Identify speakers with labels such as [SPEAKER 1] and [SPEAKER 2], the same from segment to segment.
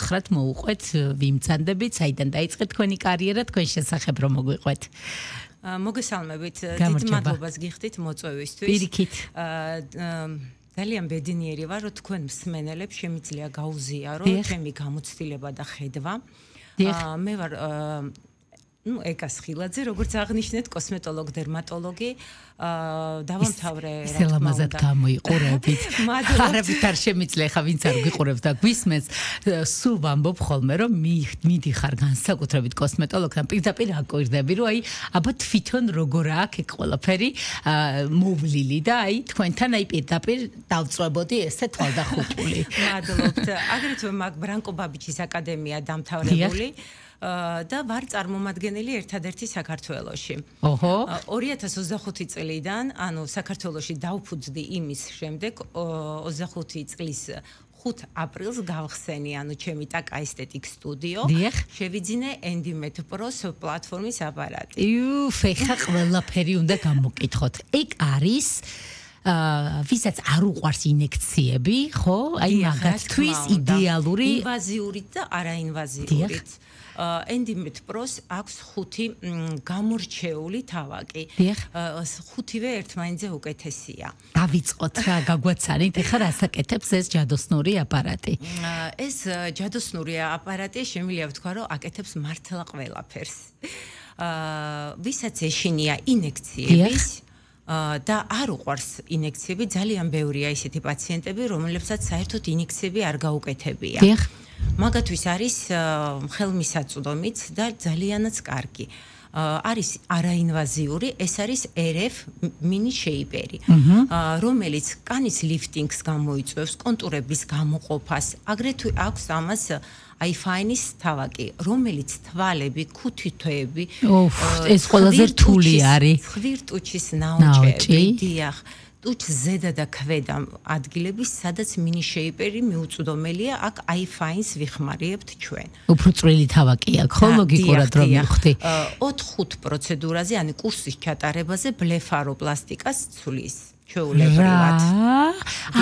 [SPEAKER 1] უთხრათ მოუყვეთ, ვიმცანდებით, საიდან დაიწყეთ თქვენი კარიერა, თქვენ შესახებ რომ მოგვიყვეთ.
[SPEAKER 2] მოგესალმებით, დიდ მადლობას გიხდით მოწვევისთვის.
[SPEAKER 1] პირიქით.
[SPEAKER 2] ძალიან ბედნიერი ვარ, რომ თქვენ მსმენელებს შემიძლია გაუზიარო ჩემი გამოცდილება და ხედვა. მე ვარ ეკა სხილაძე, როგორც აღნიშნეთ, კოსმეტოლოგ, დერმატოლოგი. დავამთავრე რა თქმა უნდა.
[SPEAKER 1] სელამაზად გამოიყურებით. არაფერ არ შემიძლია ხა ვინც არ გიყურებს და გვისმენს, სულ ვამბობ ხოლმე, რომ მიდიხარ განსაკუთრებით კოსმეტოლოგთან პირდაპირ აკვირდები, რომ აი აბა თვითონ როგორ აქვს ეგ ყველაფერი მოვლილი და აი თქვენთან აი პირდაპირ დავწვებოდი ესე თვალდახუჭული.
[SPEAKER 2] მადლობთ. აგრეთვე მაგ ბრანკო ბაბიჩის აკადემია დამთავრებული. და ვარ წარმომადგენელი ერთადერთი საქართველოში. 2025 წლიდან, ანუ საქართველოში დავფუძდი იმის შემდეგ 25 წლის 5 აპრილს გავხსენი, ანუ ჩემი ტაკა ესთეტიკ სტუდიო. შევიძინე Endimet Pro-ს პლატფორმის აპარატი.
[SPEAKER 1] ხა ყველაფერი უნდა გამოკითხოთ. ეგ არის ვისაც არ უყვარს ინექციები, ხო? აი მაგათთვის იდეალური
[SPEAKER 2] ინვაზიურით და არაინვაზიურით. Endimet Pro-ს აქვს 5 გამორჩეული თავაკი. 5-ვე ერთმანეთზე უკეთესია.
[SPEAKER 1] დავიწყოთ რა, გაგვაცანით, ეხლა რასაკეთებს ეს ჯადოსნური აპარატი?
[SPEAKER 2] ეს ჯადოსნური აპარატი შემიძლია ვთქვა, რომ აკეთებს მართლა ყველაფერს. ვისაც ეშინია ინექციების და არ უყვარს ინექციები, ძალიან ბევრია ისეთი პაციენტები, რომლებსაც საერთოდ ინექციები არ გაუკეთებია. მაგათვის არის ხელმისაწვდომიც და ძალიანაც კარგი. არის არაინვაზიური, ეს არის RF mini shaper-ი, რომელიც კანის ლიფტინგს გამოიწვევს, კონტურების გამოყოფას. აგრეთვე აქვს ამას iFine-ის თავაკი, რომელიც თვალები, ქუთითოები,
[SPEAKER 1] ეს ყველაზე რთული არის.
[SPEAKER 2] ხვირტუჩის ნაოჭები, დიახ. ტუჩ ზედა და ქვედა ადგილების, სადაც mini shaper-ი მიუწვდომელია, აქ iFine-ს ვიხმარებთ ჩვენ.
[SPEAKER 1] უფრო წვრილი თავაკი აქვს, ხო, ლოგიკურად რომ მივხვდი.
[SPEAKER 2] 4-5 პროცედურაზე, ანუ კურსის ჩატარებაზე ბლეფაროპლასტიკას ცვლის. ჩვეულებრივად.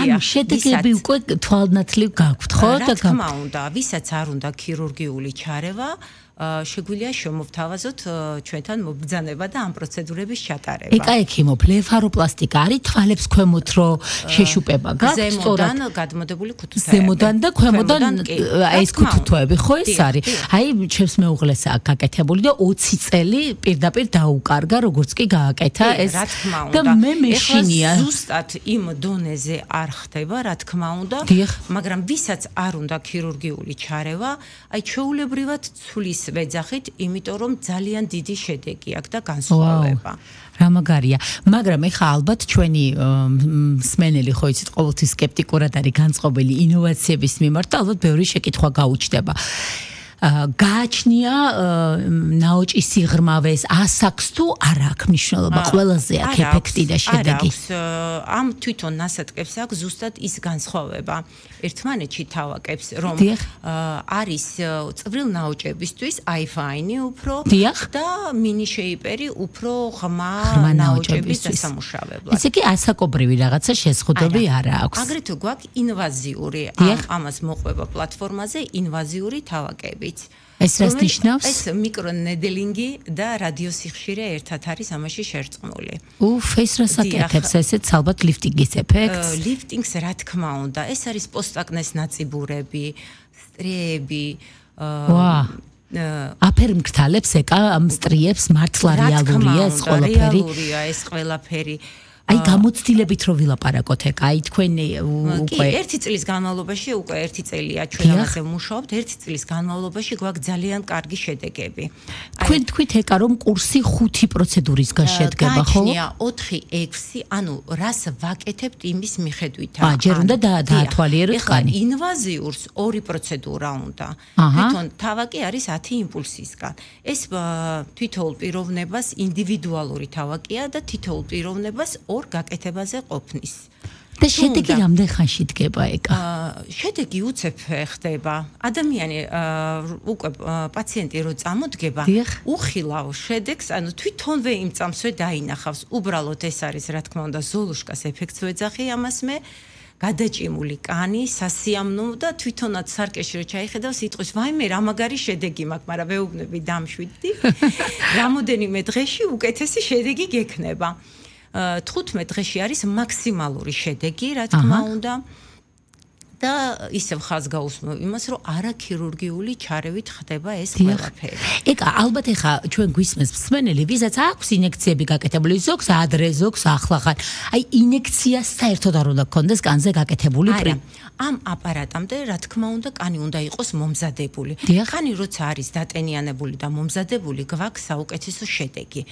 [SPEAKER 1] ანუ შედეგები უკვე თვალნათლივ გაქვთ, ხო?
[SPEAKER 2] რა თქმა უნდა, ვისაც არ უნდა ქირურგიული ჩარევა, შეგვიძლია შემოვთავაზოთ ჩვენთან მობრძანება და ამ პროცედურების ჩატარება.
[SPEAKER 1] ეკაექიმო, ბლეფაროპლასტიკა არის თვალებს ქვემოთ რო შეშუპება გაქვთ,
[SPEAKER 2] ზემოდან გადმოდებული ქუთუთოები.
[SPEAKER 1] ზემოდან და ქვემოდან ეს ქუთუთოები, ხო ეს არის? აი, ჩემს მეუღლეს აქვს გაკეთებული და 20 წელი პირდაპირ დაუკარგა, როგორც კი გააკეთა ეს. და მე მეშინია.
[SPEAKER 2] ზუსტად იმ დონეზე არ ხდება, რა თქმა უნდა, მაგრამ ვისაც არ უნდა ქირურგიული ჩარევა, აი ჩვეულებრივად ცვლის ვეძახით, იმიტომ რომ ძალიან დიდი შედეგი აქვს და განსხვავება.
[SPEAKER 1] რა მაგარია. მაგრამ ეხა ალბათ ჩვენი მსმენელი ხო იცით, ყოველთვის სკეპტიკურად არის განწყობილი ინოვაციების მიმართ და ალბათ ბევრი შეკითხვა გაუჩნდება. გააჩნია ნაოჭის სიღრმავეს, ასაკს თუ არ აქვს მნიშვნელობა, ყველაზე აქვს ეფექტი და შედეგი.
[SPEAKER 2] ამ თვითონ ნასატკებს აქვს ზუსტად ის განსხვავება. ერთმანეთში თავაკებს, რომ არის წვრილ ნაოჭებისთვის iFine-ი უფრო და mini shaper-ი უფრო ღრმა ნაოჭების დასამუშავებლად.
[SPEAKER 1] ესე იგი ასაკობრივი რაღაცა შეზღუდვები არ აქვს.
[SPEAKER 2] აგრეთვე გვაქვს ინვაზიური, ამას მოყვება პლატფორმაზე ინვაზიური თავაკები.
[SPEAKER 1] ეს რას ნიშნავს?
[SPEAKER 2] ეს მიკრონედელინგი და რადიოსიხშირე ერთად არის ამაში შერწყმული.
[SPEAKER 1] ეს რას აკეთებს? ესეც ალბათ ლიფტინგის ეფექტს?
[SPEAKER 2] ლიფტინგს რა თქმა უნდა, ეს არის პოსტაკნეს ნაწიბურები, სტრიები,
[SPEAKER 1] აფერმგთალებს ეკა ამ სტრიებს მართლა რეალურია ეს ყველაფერი?
[SPEAKER 2] რეალურია ეს ყველაფერი.
[SPEAKER 1] აი გამოცდილებით რო ვილაპარაკოთ ეკა, აი თქვენი უკვე
[SPEAKER 2] ერთი წლის განმავლობაში უკვე ერთი წელია ჩვენ ამაზე ვმუშაობთ, ერთი წლის განმავლობაში გვაქვს ძალიან კარგი შედეგები.
[SPEAKER 1] თქვენ თქვით ეკა რომ კურსი 5 პროცედურისგან შედგება, ხო?
[SPEAKER 2] გააჩნია 4-6, ანუ რას ვაკეთებთ იმის მიხედვით.
[SPEAKER 1] ჯერ უნდა დაათვალიეროთ კანი.
[SPEAKER 2] ინვაზიურს 2 პროცედურა უნდა. თვითონ თავაკი არის 10 იმპულსისგან. ეს თითოეულ პიროვნებას ინდივიდუალური თავაკია და თითოეულ პიროვნებას ორ გაკეთებაზე ყოფნის.
[SPEAKER 1] და შედეგი რამდენ ხანში დგება ეკა?
[SPEAKER 2] შედეგი უცებ ხდება. ადამიანი უკვე პაციენტი რო წამოდგება, უხილავ შედეგს, ანუ თვითონვე იმ წამსვე დაინახავს. უბრალოდ ეს არის, რა თქმა უნდა, ზოლუშკას ეფექტს ვეძახი ამას მე. გადაჭიმული კანი, სასიამოვნო და თვითონაც სარკეში რო ჩაიხედავ, სიტყვის ვაიმე რა მაგარი შედეგი მაქვს, მაგრამ ვეუბნები დამშვიდდი. რამოდენიმე დღეში უკეთესი შედეგი გექნება. 15 დღეში არის მაქსიმალური შედეგი, რა თქმა უნდა. და ისევ ხაზ გაუსმევ იმას, რომ არაქირურგიული ჩარევით ხდება ეს ყველაფერი.
[SPEAKER 1] ეკა, ალბათ ეხა ჩვენ გვისმენს მსმენელი, ვისაც აქვს ინექციები გაკეთებული, ზოგს ადრე, ზოგს ახლახან. აი, ინექცია საერთოდ არ უნდა გქონდეს კანზე გაკეთებული
[SPEAKER 2] არა, ამ აპარატამდე, რა თქმა უნდა, კანი უნდა იყოს მომზადებული. კანი როცა არის დატენიანებული და მომზადებული, გვაქვს საუკეთესო შედეგი.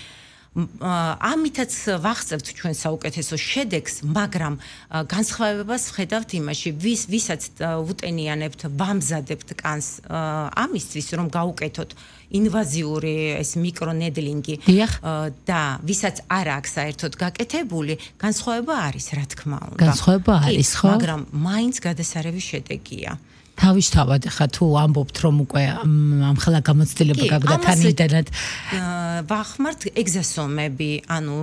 [SPEAKER 2] ამითაც ვახსევთ ჩვენ საუკეთესო შედეგს, მაგრამ განსხვავებას ვხედავთ იმაში, ვისაც უტენიანებთ, ვამზადებთ კანს ამისთვის, რომ გაუკეთოთ ინვაზიური ეს მიკრონედლინგი და ვისაც არ აქვს საერთოდ გაკეთებული, განსხვავება არის, რა თქმა უნდა.
[SPEAKER 1] განსხვავება არის, ხო?
[SPEAKER 2] მაგრამ მაინც გადასარევი შედეგია.
[SPEAKER 1] თავისთავად ხა თუ ამბობთ რომ უკვე ამხელა გამოცდილება გაგვდა თან ინტერნეტ
[SPEAKER 2] ვახმართ ეგზასომები, ანუ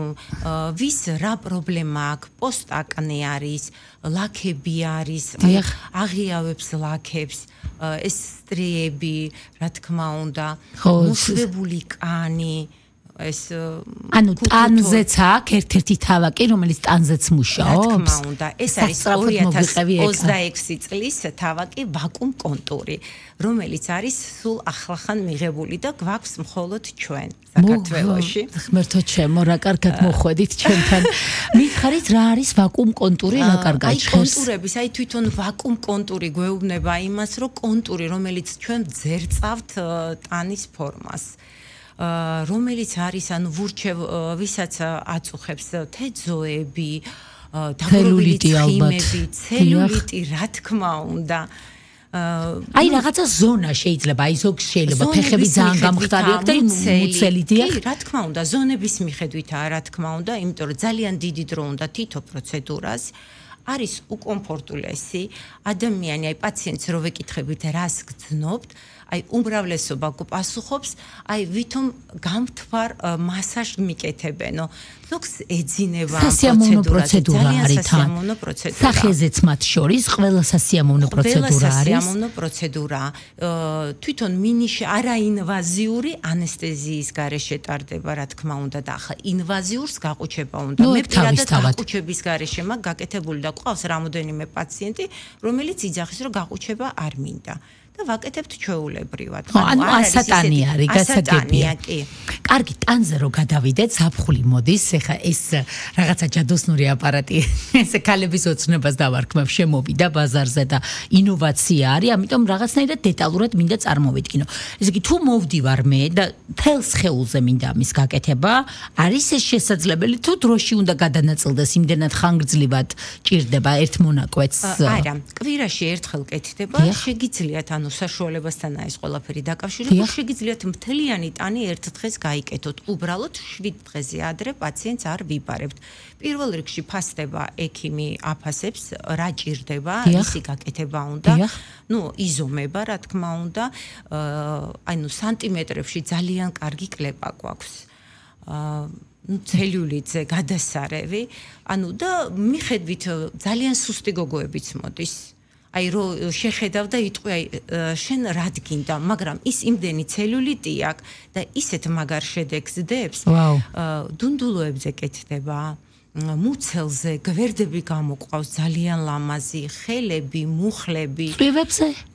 [SPEAKER 2] ვის რა პრობლემა აქვს, პოსტაკნე არის, ლაქები არის, აღიავებს ლაქებს, ეს სტრიები, რა თქმა უნდა, მოშვებული კანი ეს
[SPEAKER 1] ანუ ტანზეც აქვს ერთ-ერთი თავაკი, რომელიც ტანზეც მუშაობს.
[SPEAKER 2] რა თქმა უნდა, ეს არის 2026 წლის თავაკი ვაკუუმ კონტური, რომელიც არის სულ ახლახან მიღებული და გვაქვს მხოლოდ ჩვენ საქართველოში.
[SPEAKER 1] ღმერთო ჩემო, რა კარგად მოხვედით ჩვენთან. მითხარით რა არის ვაკუუმ კონტური, რა კარგად ჟღერს?
[SPEAKER 2] აი კონტურების, აი თვითონ ვაკუუმ კონტური გვეუბნება იმას, რომ კონტური, რომელიც ჩვენ ძერწავთ ტანის ფორმას. რომელიც არის ანუ ვურჩევ ვისაც აწუხებს თეძოები, დაგროვილი ცხიმები, ცელულიტი, რა თქმა უნდა.
[SPEAKER 1] აი რაღაცა ზონა შეიძლება, აი ზოგს შეიძლება ფეხები ძალიან გამხდარი აქვს და მუცელი დიახ.
[SPEAKER 2] კი, რა თქმა უნდა, ზონების მიხედვითაა, რა თქმა უნდა, იმიტომ რომ ძალიან დიდი დრო უნდა თითო პროცედურას. არის უკომფორტულესი ადამიანი, აი პაციენტს რო ვეკითხებით რას გძნობთ, აი უმრავლესობა გპასუხობს, აი ვითომ გამთვარ მასაჟს მიკეთებენო. ზოგს ეძინება ამ
[SPEAKER 1] პროცედურა არის თან. სახეზეც მათ შორის ყველა სასიამოვნო პროცედურა არის.
[SPEAKER 2] სასიამოვნო პროცედურა. თვითონ მინიში არაინვაზიური ანესთეზიის გარეშე ტარდება, რა თქმა უნდა, და ახლა ინვაზიურს გაყუჩება უნდა. მე პირადად გაყუჩების გარეშე მაგ გაკეთებული და ყავს რამოდენიმე პაციენტი, რომელიც იძახის, რომ გაყუჩება არ მინდა. და ვაკეთებთ ჩვეულებრივად.
[SPEAKER 1] ანუ ასატანი არის, გასაგებია. კარგი, ტანზე რო გადავიდეთ, ზაფხული მოდის, ეხა ეს რაღაცა ჯადოსნური აპარატი, ესე ქალების ოცნებას დავარქმევ, შემოვიდა ბაზარზე და ინოვაცია არის, ამიტომ რაღაცნაირად დეტალურად მინდა წარმოვიდგინო. ესე იგი, თუ მოვდივარ მე და თელს ხეულზე მინდა ამის გაკეთება, არის ეს შესაძლებელი, თუ დროში უნდა გადანაწილდეს, იმდენად ხანგრძლივად ჭირდება ერთ მონაკვეთს?
[SPEAKER 2] არა, კვირაში ერთხელ კეთდება, შეგიძლიათ ანუ საშუალებასთანაა ეს ყველაფერი დაკავშირებული, შეგიძლიათ მთლიანი ტანი ერთ დღეს გაიკეთოთ. უბრალოდ 7 დღეზე ადრე პაციენტს არ ვიბარებთ. პირველ რიგში ფასდება ექიმი აფასებს, რა ჭირდება, ისი გაკეთება უნდა. ნუ იზომება, რა თქმა უნდა, ანუ სანტიმეტრებში ძალიან კარგი კლეპა გვაქვს. ცელულიტზე გადასარევი, ანუ და მიხედვით ძალიან სუსტი გოგოებიც მოდის. აი რო შეხედავ და იტყვი აი შენ რად გინდა, მაგრამ ის იმდენი ცელულიტი აქვს და ისეთ მაგარ შედეგს დებს. დუნდულოებზე კეთდება, მუცელზე, გვერდები გამოყავს ძალიან ლამაზი, ხელები, მუხლები.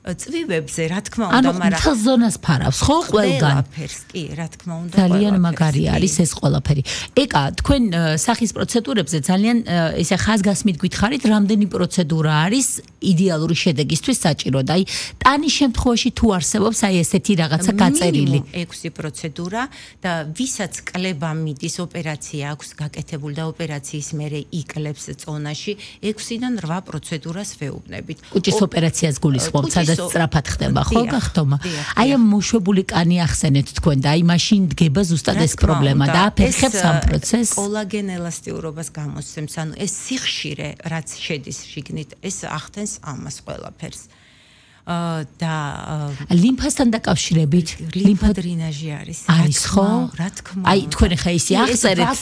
[SPEAKER 2] წვივებზე, რა თქმა უნდა,
[SPEAKER 1] მაგრამ ანუ მთელ ზონას ფარავს, ხო, ყველგან?
[SPEAKER 2] ყველაფერს, კი, რა თქმა უნდა,
[SPEAKER 1] ძალიან მაგარი არის ეს ყველაფერი. ეკა, თქვენ სახის პროცედურებზე ძალიან ესე ხაზგასმით გითხარით, რამდენი პროცედურა არის იდეალური შედეგისთვის საჭირო და აი ტანის შემთხვევაში თუ არსებობს აი ესეთი რაღაცა გაწერილი.
[SPEAKER 2] 6 პროცედურა და ვისაც კლება მიდის, ოპერაცია აქვს გაკეთებული და ოპერაციის მერე იკლებს წონაში 6-დან 8 პროცედურას ვეუბნებით.
[SPEAKER 1] კუჭის ოპერაციას გულისხმობთ, სადაც სწრაფად ხდება, ხო, გახდომა? აი ამ მოშვებული კანი ახსენეთ თქვენ და აი მაშინ დგება ზუსტად ეს პრობლემა და აფერხებს ამ პროცესს.
[SPEAKER 2] კოლაგენ ელასტიურობას გამოსცემს, ანუ ეს სიხშირე, რაც შედის შიგნით, ეს ახდენს ამას ყველაფერს. და
[SPEAKER 1] ლიმფასთან დაკავშირებით
[SPEAKER 2] ლიმფოდრენაჟი არის.
[SPEAKER 1] არის ხო?
[SPEAKER 2] რა თქმა უნდა.
[SPEAKER 1] აი თქვენ ხა ისე ახსერეთ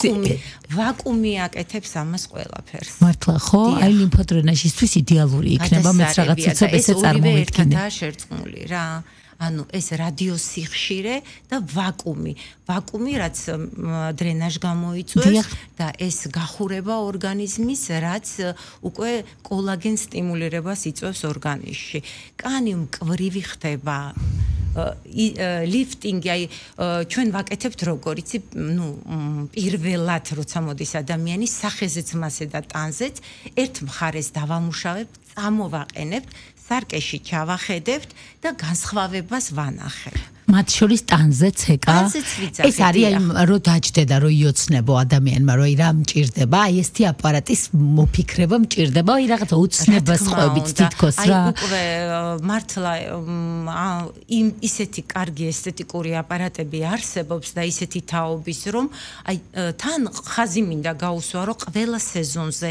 [SPEAKER 2] ვაკუუმი აკეთებს ამას ყველაფერს.
[SPEAKER 1] მართლა ხო? აი ლიმფოდრენაჟისთვის იდეალური იქნება მეც რაღაც ცოტა ესე წარმოვიდგინე.
[SPEAKER 2] და შერწყმული რა. ანუ ეს რადიოსიხშირე და ვაკუუმი რაც დრენაჟ გამოიწვევს და ეს გახურება ორგანიზმის რაც უკვე კოლაგენ სტიმულირებას იწვევს ორგანიზმში. კანი მკვრივი ხდება. ლიფტინგი აი ჩვენ ვაკეთებთ როგორ იცი ნუ პირველად როცა მოდის ადამიანი სახეზეც მასე და ტანზეც ერთ მხარეს დავამუშავებთ წამოვაყენებთ სარკეში ჩავახედებთ და განსხვავებას ვანახებ.
[SPEAKER 1] მათ შორის ტანზეც ეკა ეს არის აი რო დაჯდება რო იოცნებო ადამიანმა რო რა მჭირდება აი ესეთი აპარატის მოფიქრება მჭირდება აი რაღაცა უცნებას ყვებით თითქოს რა
[SPEAKER 2] აი უკვე მართლა ისეთი კარგი ესთეტიკური აპარატები არსებობს და ისეთი თაობის რომ აი თან ხაზი მინდა გაუსვა რომ ყველა სეზონზე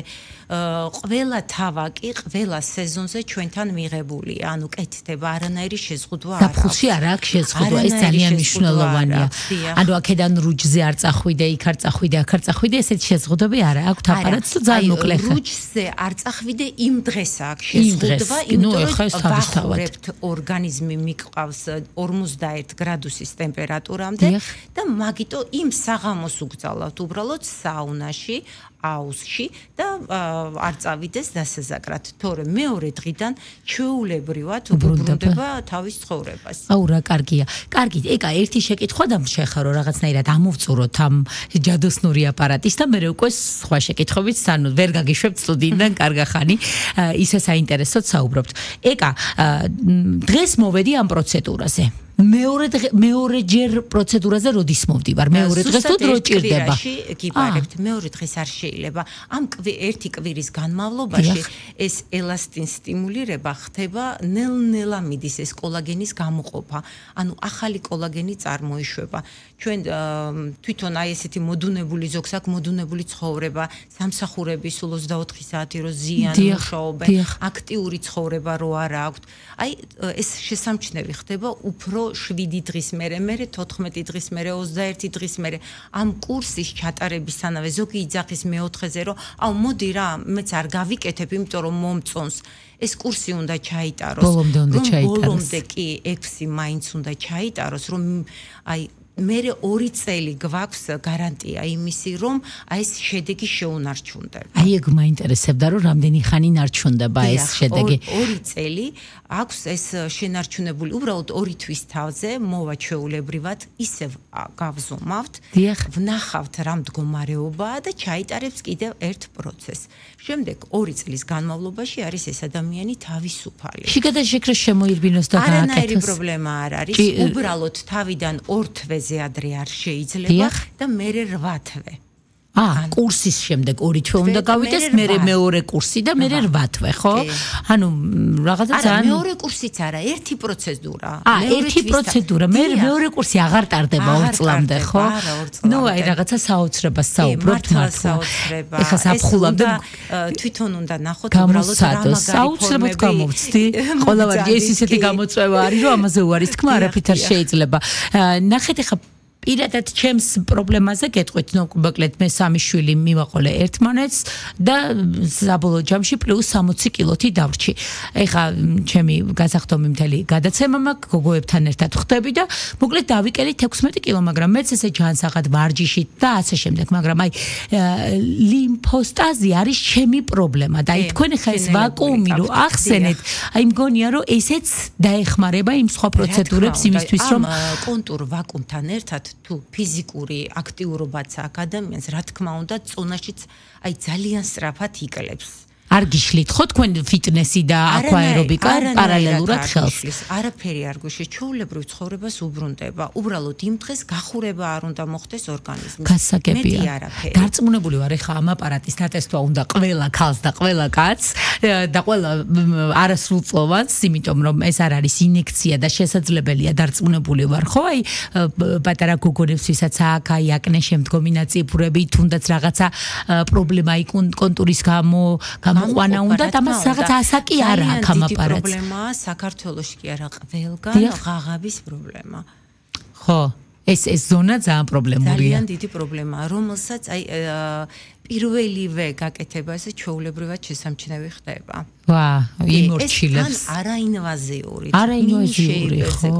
[SPEAKER 2] ყველა თავაკი ყველა სეზონზე ჩვენთან მიღებულია ანუ კეთდება არანაირი შეზღუდვა არ აქვს
[SPEAKER 1] საფხულში არ აქვს შეზღუდვა ეს ძალიან მნიშვნელოვანია ანუ აქედან რუჯზე არ წახვიდე იქ არ წახვიდე აქ არ წახვიდე ესეთი შეზღუდვები არ აქვს აპარატს თუ ძალიან მოკლე ხარ
[SPEAKER 2] რუჯზე არ წახვიდე იმ დღეს აქვს შეზღუდვა იმიტომ რომ ვახურებთ ორგანიზმი მიყვავს 51 გრადუსის ტემპერატურამდე და მაგიტო იმ საღამოს უგზავნოთ უბრალოდ საუნაში აუზში და არ წავიდეს დასაზაკრად, თორემ მეორე დღიდან ჩვეულებრივად უბრუნდება თავის ცხოვრებას.
[SPEAKER 1] აუ რა კარგია. კარგი, ეკა ერთი შეკითხვა და შეხარო რაღაცნაირად ამოვწუროთ ამ ჯადოსნური აპარატის და მე უკვე სხვა შეკითხვებით სანუ ვერ გაგიშვებთ სტუდიიდან კარგა ხანი ისე საინტერესოდ საუბრობთ. ეკა დღეს მოვედი ამ პროცედურაზე. მეორე ჯერ პროცედურაზე როდის მოვდივარ? მეორე დღეს თუ დრო ჭირდება?
[SPEAKER 2] გიბარებთ, მეორე დღეს არ შეიძლება. ამ ერთი კვირის განმავლობაში ეს ელასტინ სტიმულირება ხდება ნელ-ნელა მიდის ეს კოლაგენის გამოყოფა. ანუ ახალი კოლაგენი წარმოიშვება. ჩვენ თვითონ აი ესეთი მოდუნებული ზოგს აქვს მოდუნებული ცხოვრება, სამსახურები სულ 24 საათი რო ზიან მუშაობენ, აქტიური ცხოვრება რო არა აქვთ. აი ეს შესამჩნევი ხდება უფრო 7 დღის მერე 14 დღის მერე 21 დღის მერე ამ კურსის ჩატარებისთანავე ზოგი იძახის მეოთხეზე რომ აუ მოდი რა მეც არ გავიკეთებ იმიტომ რომ მომწონს ეს კურსი უნდა ჩაიტაროს ბოლომდე კი 6 მაინც უნდა ჩაიტაროს რომ აი მერე 2 წელი გვაქვს გარანტია იმისი რომ აი ეს შედეგი შეუნარჩუნდება.
[SPEAKER 1] აი ეგ მაინტერესებდა რომ რამდენი ხანი ნარჩუნდება ეს შედეგი.
[SPEAKER 2] 2 წელი აქვს ეს შენარჩუნებული უბრალოდ 2 თვის თავზე მოვა ჩვეულებრივად ისევ გავზომავთ ვნახავთ რა მდგომარეობაა და ჩაიტარებს კიდევ ერთ პროცესს. შემდეგ 2 წლის განმავლობაში არის ეს ადამიანი თავისუფალი.
[SPEAKER 1] შიგადაშეკრა შემოირბინოს და გააკეთოს.
[SPEAKER 2] არანაირი პრობლემა არ არის. უბრალოდ თავიდან 2 თვეზე ადრე არ შეიძლება და მერე 8 თვე.
[SPEAKER 1] კურსის შემდეგ 2 თვე უნდა გავიდეს, მერე მეორე კურსი და მერე 8 თვე, ხო? ანუ რაღაცა ძალიან
[SPEAKER 2] მეორე კურსიც არა, ერთი პროცედურა.
[SPEAKER 1] ერთი პროცედურა, მეორე კურსი აღარ ტარდება 2 წლამდე, ხო?
[SPEAKER 2] არა, 2 წლამდე.
[SPEAKER 1] ნუ აი რაღაცა საოცრებას საუბრობთ მართლა. ეხლა საფხულამდე
[SPEAKER 2] თვითონ უნდა ნახოთ უბრალოდ რა მაგარი
[SPEAKER 1] საოცრებად გამოვცდი. ყველავარჯი ეს ისეთი გამოწვევა არის, რომ ამაზე უარის თქმა არაფრით არ შეიძლება. ნახეთ ეხლა პირადად ჩემს პრობლემაზე გეტყვით, ნუ მოკლედ მე 3 შვილი მივაყოლე ერთმანეთს და საბოლოო ჯამში პლუს 60 კილოთი დავრჩი. ეხა ჩემი გასახდომი მთელი გადაცემა მაქვს, გოგოებთან ერთად ხდები და მოკლედ დავიკელით 16 კილო, მაგრამ მეც ესე ჯანსაღად ვარჯიში და ასე შემდეგ, მაგრამ აი ლიმფოსტაზი არის ჩემი პრობლემა და აი თქვენ ხა ეს ვაკუუმი რო ახსენეთ, აი მგონია რომ ესეც დაეხმარება იმ სხვა პროცედურებს იმისთვის რომ
[SPEAKER 2] კონტურ ვაკუუმთან ერთად თუ ფიზიკური აქტიურობაც აქვს ადამიანს, რა თქმა უნდა, წონაშიც აი ძალიან სწრაფად იკლებს.
[SPEAKER 1] არ გიშლით ხო თქვენ ფიტნესი და აკვაერობიკა პარალელურად ხელს?
[SPEAKER 2] არაფერი არ გვიშლით, ჩვეულებრივ ცხოვრებას უბრუნდება. უბრალოდ იმ დღეს გახურება არ უნდა მოხდეს ორგანიზმის.
[SPEAKER 1] გასაგებია. დარწმუნებული ვარ, ეხა ამ აპარატის დატესტვა უნდა ყველა ქალს და ყველა კაცს და ყველა არასრულწლოვანს, იმიტომ რომ ეს არ არის ინექცია და შესაძლებელია დარწმუნებული ვარ, ხო? აი პატარა გოგონებს, ვისაც აქვს აი აკნე შემდგომი ნაწიფურები, თუნდაც რაღაცა პრობლემა იქ კონტურის გამო გამოყვანა უნდა და მას რაღაც ასაკი არ აქვს ამ აპარატს.
[SPEAKER 2] პრობლემაა საქართველოში კი არა ყველგან ღაღაბის პრობლემა.
[SPEAKER 1] ხო, ეს ზონა ძალიან პრობლემურია.
[SPEAKER 2] ძალიან დიდი პრობლემაა, რომელსაც აი პირველივე გაკეთება ესე ჩვეულებრივად შესამჩნევი ხდება.
[SPEAKER 1] ვა, იმორჩილებს.
[SPEAKER 2] ეს თან არაინვაზიური.
[SPEAKER 1] არაინვაზიური, ხო.